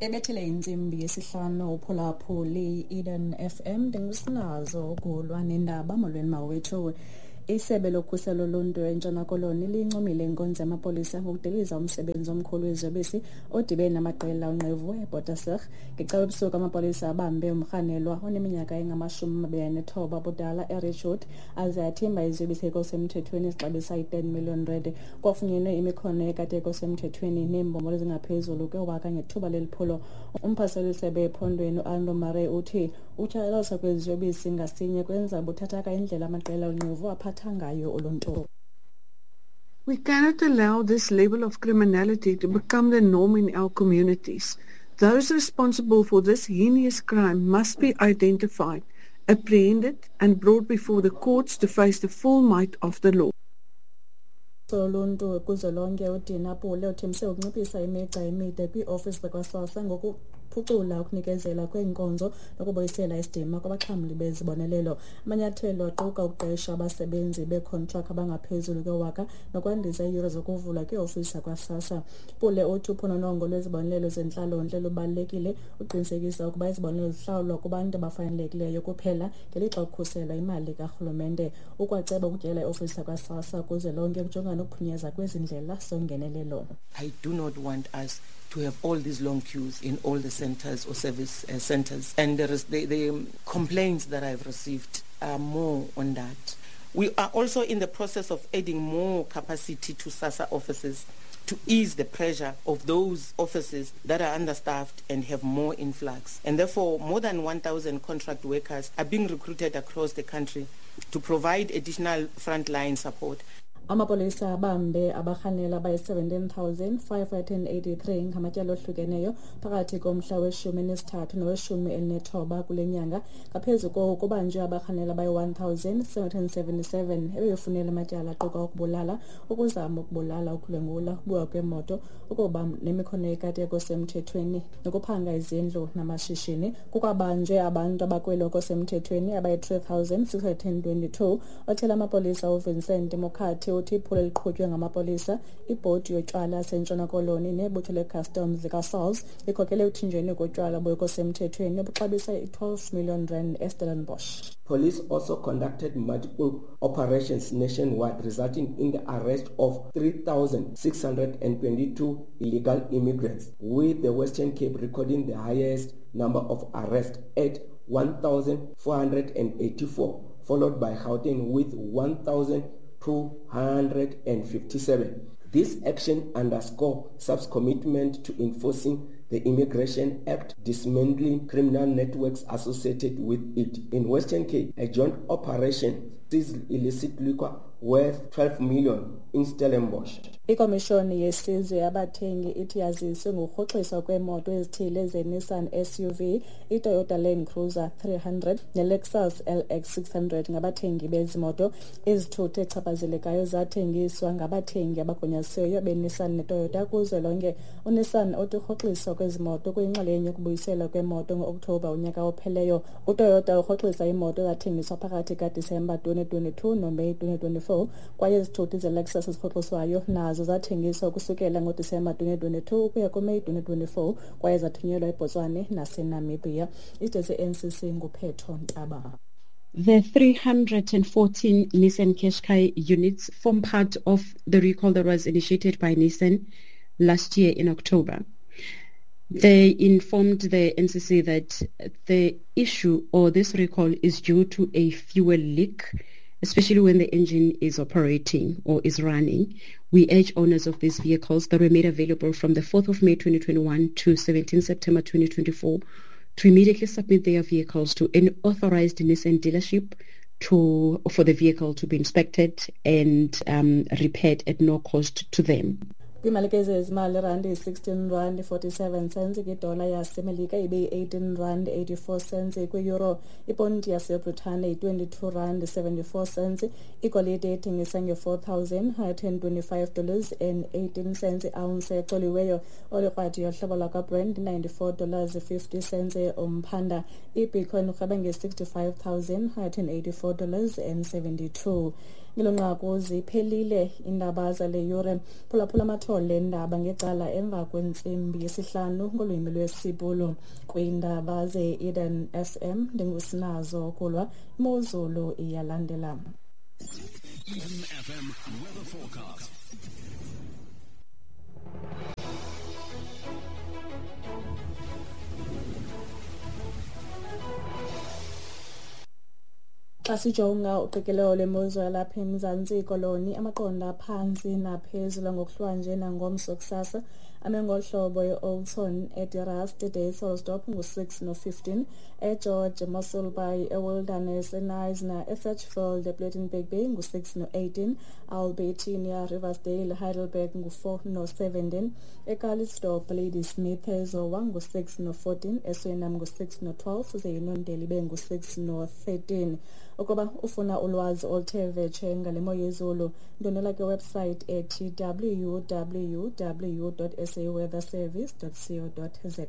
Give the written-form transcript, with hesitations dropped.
Ebethele intsimbi yesihlanu uphulaphuli Eden FM, ndingusinazo ukulwa nendaba. Molweni mawethu. Isebe lokhuselo loluntu eNtshona Koloni liyincomile inkonzo yamapolisa ngokudiliza umsebenzi omkhulu weziyobisi odibene namaqela onqevu eBotasig. Ngecawe ebusuku amapolisa abambe umrhanelwa oneminyaka engama-29 ubudala eRichwood aze athimba iziyobisi ekho semthethweni ezixabisa i-10 million rand. Kwafunyenwe imikhono yekati ekho semthethweni neembombolo ezingaphezulu kwewaka ngethuba leli phulo. Umphathiswa wesebe ephondweni uAldo Murray uthi ukutshatyalaliswa kweziyobisi ngasinye kwenza buthathaka indlela amaqela onqevu aphatha ngayo uluntu. We cannot allow this level of criminality to become the norm in our communities. Those responsible for this heinous crime must be identified, apprehended and brought before the courts to face the full might of the law. Soluntu kuzwelonke uDina Pule uthembise ukunciphisa imigca emide kwiiofisi zakwaSASSA ngokuphucula ukunikezela kweenkonzo nokubuyisela isidima kwabaxhamli bezibonelelo. Amanyathelo aquka ukuqesha abasebenzi beekhontraki abangaphezulu kwewaka nokwandisa iiyure zokuvulwa kwiiofisi zakwaSASSA. Pule uthi uphononongo lwezibonelelo zentlalontle lubalulekile uqinisekisa ukuba izibonelelo zihlawulwa kubantu abafanelekileyo kuphela ngelixa kukhuselwa imali karhulumente. Ukwaceba ukutyela iofisi yakwaSASSA kuzwelonke kujongana nokuphunyezwa kwezi ndlela zongenelelo. I do not want us to have all these long queues in all the centers or service centers. And there is the complaints that I've received are more on that. We are also in the process of adding more capacity to SASSA offices to ease the pressure of those offices that are understaffed and have more influx. And therefore, more than 1,000 contract workers are being recruited across the country to provide additional frontline support. Amapolisa abambe abarhanela abayi-17,583 ngamatyala ohlukeneyo phakathi komhla we-13 nowe-19 kule nyanga. Ngaphezu koko, kubanjwe abarhanela abayi-1,777 ebebefunela amatyala aquka ukubulala, ukuzama ukubulala, ukudlwengula, ukubiwa kwemoto, ukuba nemikhono yekati ekho semthethweni nokuphanga izindlu namashishini. Kukwabanjwe abantu abakwelo semthethweni abayi-3,622. Othela amapolisa uVincent Mokhathi uthi iphulo eliqhutywe ngamapolisa, ibhodi yotywala yaseNtshona Koloni nebutho le-customs likaSARS likhokele ekuthinjweni kotywala obungekho semthethweni obuxabisa i-12 million rand eStellenbosch. Police also conducted multiple operations nationwide, resulting in the arrest of 3,622 illegal immigrants, with the Western Cape recording the highest number of arrests at 1,484, followed by Gauteng with 1,257. This action underscores SAPS commitment to enforcing the Immigration Act, dismantling criminal networks associated with it. In Western Cape, a joint operation seized illicit liquor worth 12 million in Stellenbosch. Ikomishoni yesizwe yabathengi ithi yaziswe ngokurhoxiswa kweemoto ezithile zeNissan SUV, iToyota Land Cruiser 300 neLexus LX 600 ngabathengi bezi moto. Izithuthi echaphazelekayo zathengiswa ngabathengi abagunyazisiweyo beNissan neToyota kuzwelonke. UNissan uthi urhoxiswa kwezi moto kuyinxalenye yokubuyiselwa kwemoto ngo-Okthobha unyaka opheleyo. UToyota urhoxisa iimoto ezathengiswa phakathi kaDisemba 2022 noMeyi 2024, kwaye izithuthi zeLexus ezirhoxiswayo nazo zathengiswa ukusukela ngoDisemba 2022 ukuya kuMeyi 2024 kwaye zathunyelwa eBotswana naseNamibia. Isiteshi se-NCC nguPhetho Ntaba. The 314 Nissan Qashqai units form part of the recall that was initiated by Nissan last year in October. They informed the NCC that the issue or this recall is due to a fuel leak, especially when the engine is operating or is running. We urge owners of these vehicles that were made available from the 4th of May 2021 to 17 September 2024 to immediately submit their vehicles to an authorized Nissan dealership to for the vehicle to be inspected and repaired at no cost to them. Kwiimalike zezimali, irandi yi-16 rand 47 cents kwidola yaseMelika, ibe yi-18 rand 84 cents kwi-euro. Iponti yaseBritane yi-22 rand 74 cents. Igolide ethengisa nge-$4,125 and 18 cents i-ounce ecoliweyo. Olikrwadi yohlobo lwakwaBrent, $94 50 cents umphanda. Ibitcoin urhweba nge-$65,184 and 72. Ngelo nqaku ziphelile iindaba zale yure. Phulaphula amathole endaba ngecala emva kwentsimbi yesihlanu ngolwimi lwesiBhulu. Kwiindaba ze-Eden FM ndingusinazo kulwa imozulu iyalandela. Eden FM weather forecast. Xa sijonga uqikelelo lwemozulu yalapha eMzantsi Koloni, amaqondo aphantsi naphezulu ngokuhlwanje nangomso kusasa ame ngolu hlobo: e-Oudtshoorn, eDe-Rust, eDysselsdorp ngu-6 no-15, eGeorge, eMossel Bay, eWilderness, eKnysna, eSedgefield, ePlettenberg Bay ngu-6 no-18, Albertinia, Riversdale, Heidelberg ngu-4 no-17, eCalitzdorp, Ladysmith, eZowa ngu-6 no-14, eSuriname ngu-6 no-12, ze iNondeli ibe ngu-6 no-13. Ukuba ufuna ulwazi oluthe vetshe ngale mo yezulu, ndwendwela kwiwebsite ethi www.saweatherservice.co.za.